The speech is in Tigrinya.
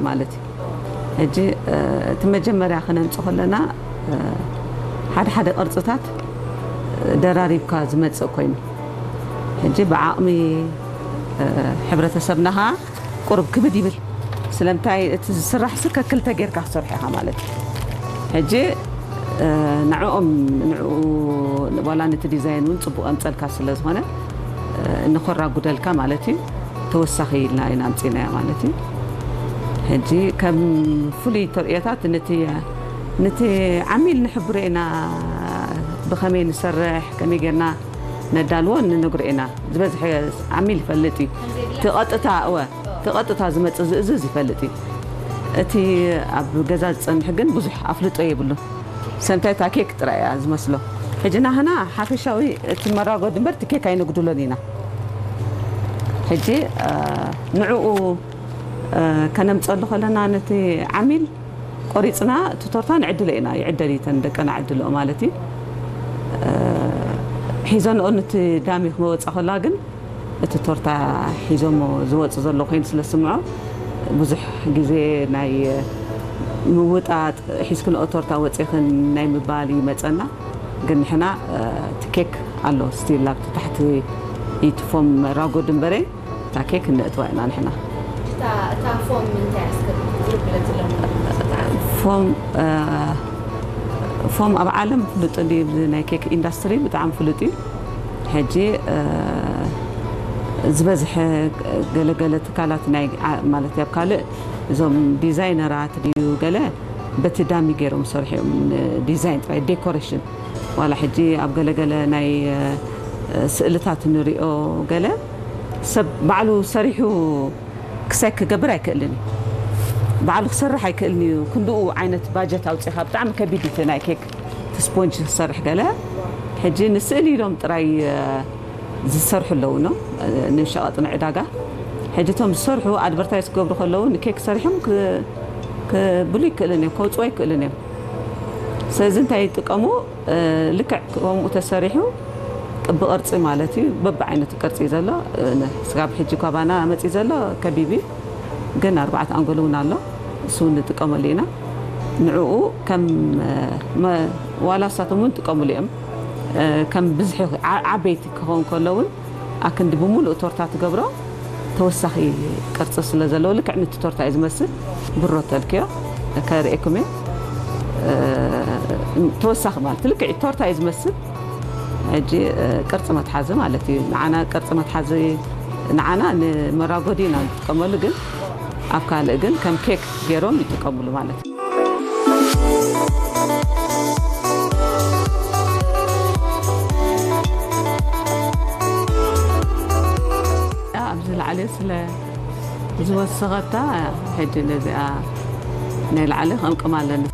ማለት እዩ። ሕጂ እቲ መጀመርያ ክነምፅ ከለና ሓደ ሓደ ቅርፅታት ደራሪብካ ዝመፅእ ኮይኑ፣ ሕጂ ብዓቕሚ ሕብረተሰብና ከዓ ቁሩብ ክብድ ይብል። ስለምንታይ እቲ ዝስራሕ ስ ከክልተ ጌርካ ክሰርሑ ኢኻ ማለት እዩ። ሕጂ ንዕኦም ንዕኡ ዋላ ነቲ ዲዛይን እውን ፅቡቅ ኣምፀልካ ስለ ዝኾነ ንኮራጉደልካ ማለት እዩ። ተወሳኺ ኢልና ኢና ኣምፂናዮ ማለት እዩ። ሕጂ ከም ፍሉይ ተርእዮታት ነቲ ነቲ ዓሚል ንሕብሮ ኢና። ብኸመይ ንሰርሕ፣ ከመይ ጌርና ነዳልዎ ንነግሮ ኢና። ዝበዝሐ ዓሚል ይፈልጥ እዩ። እቲ ቀጥታ እወ እቲ ቀጥታ ዝመፅእ ዝእዝዝ ይፈልጥ እዩ። እቲ ኣብ ገዛ ዝፀንሕ ግን ብዙሕ ኣፍልጦ የብሉን። ሰምታይ እታ ኬክ ጥራይ እያ ዝመስሎ። ሕጂ ናህና ሓፈሻዊ እቲ መራጎዲ እምበር እቲ ኬክ ኣይነጉድሎን ኢና። ሕጂ ንዕኡ ከነምፀሉ ከለና ነቲ ዓሚል ቆሪፅና እቲ ቶርታ ንዕድሎ ኢና። ይዕደል እዩ፣ ተን ደቀና ዕድልኦ ማለት እዩ። ሒዘንኦ ነቲ ዳሚ ክመወፃ ከላ ግን እቲ ቶርታ ሒዞሞ ዝወፁ ዘሎ ኮይኑ ስለ ዝስምዖ ብዙሕ ግዜ ናይ ምውጣጥ ሒዝክንኦ ቶርታ ወፂኽን ናይ ምባል ይመፀና። ግን ንሕና እቲ ኬክ ኣሎ ስቲል ኣብቲ ታሕቲ ኢትፎም ራጎድ እምበረ እታ ኬክ እነእትዋ ኢና ንሕና። እታ እታ ፎም እንታይ ኣስከ ዝርብለት ዘለኹም? ፎም እ፣ ፎም ኣብ ዓለም ፍሉጥ እንዲ ናይ ኬክ ኢንዳስትሪ ብጣዕሚ ፍሉጥ እዩ። ሕጂ እ፣ ዝበዝሐ ገለገለ ትካላት ናይ ዓ- ማለት ኣብ ካልእ እዞም ዲዛይነራት ድዩ ገለ በቲ ዳሚ ገይሮም ሰርሑ እዮም። ዲዛይን ጥራይ ዴኮሬሽን ዋላ ሕጂ ኣብ ገለገለ ናይ እ፣ ስእልታት ንሪኦ ገለ ሰብ ባዕሉ ሰሪሑ ክሳይ ክገብር ኣይክእልን እዩ። ባዕሉ ክሰርሕ ኣይክእልን እዩ። ክንድኡ ዓይነት ባጀት ኣውፂኻ ብጣዕሚ ከቢድ እቲ ናይ ኬክ እቲ ስፖንጅ ክሰርሕ ገለ ሕጂ ንስእሊ ኢሎም ጥራይ እ፣ ዝሰርሑ ኣለዉ ነው ንሸቐጥ ንዕዳጋ። ሕጂ እቶም ዝሰርሑ ኣድቨርታይዝ ክገብሩ ከለዉ ንኬክ ሰሪሖም ክ- ክብሉ ይክእልን እዮም፣ ከውፅዎ ይክእልን እዮም። ስለዚ እንታይ ይጥቀሙ? እ፣ ልክዕ ከምኡ ተሰሪሑ ቅቢ ቅርፂ ማለት እዩ። በብዓይነቱ ቅርፂ እዩ ዘሎ። እ፣ ነ- ስጋብ ሕጂ ካባና መፂ ዘሎ ከቢቢ ግን ኣርባዕተ ኣንጎል እውን ኣሎ። እሱ እውን ንጥቀመሉ ኢና። ንዕኡ ከም እ፣ መ- ዋላ እሳቶም እውን ጥቀምሉ እዮም። እ፣ ከም ብዝሒ ዓ- ዓበይቲ ክኸውን ከሎ እውን ኣክንዲ ብምሉእ ቶርታ ትገብሮ ተወሳኺ ቅርፂ ስለ ዘለዎ ልክዕ ነቲ ቶርታ እዩ ዝመስል። ብሮ ተልክዮ ከርእየኩም እየ። እ፣ ተወሳኺ ማለት ልክዕ ቶርታ እዩ ዝመስል። ሕጂ እ፣ ቅርፂ መትሓዚ ማለት እዩ። ንዓና ቅርፂ መትሓዚ ንዓና ንመራጎዲ ኢና ንጥቀመሉ፣ ግን ኣብ ካልእ ግን ከም ኬክ ገይሮም ይጥቀምሉ ማለት እዩ። ኣብዚ ላዕሊ ስለ ዝወሰኸታ ሕጂ ነዚኣ ናይ ላዕሊ ከምቅም ኣለና።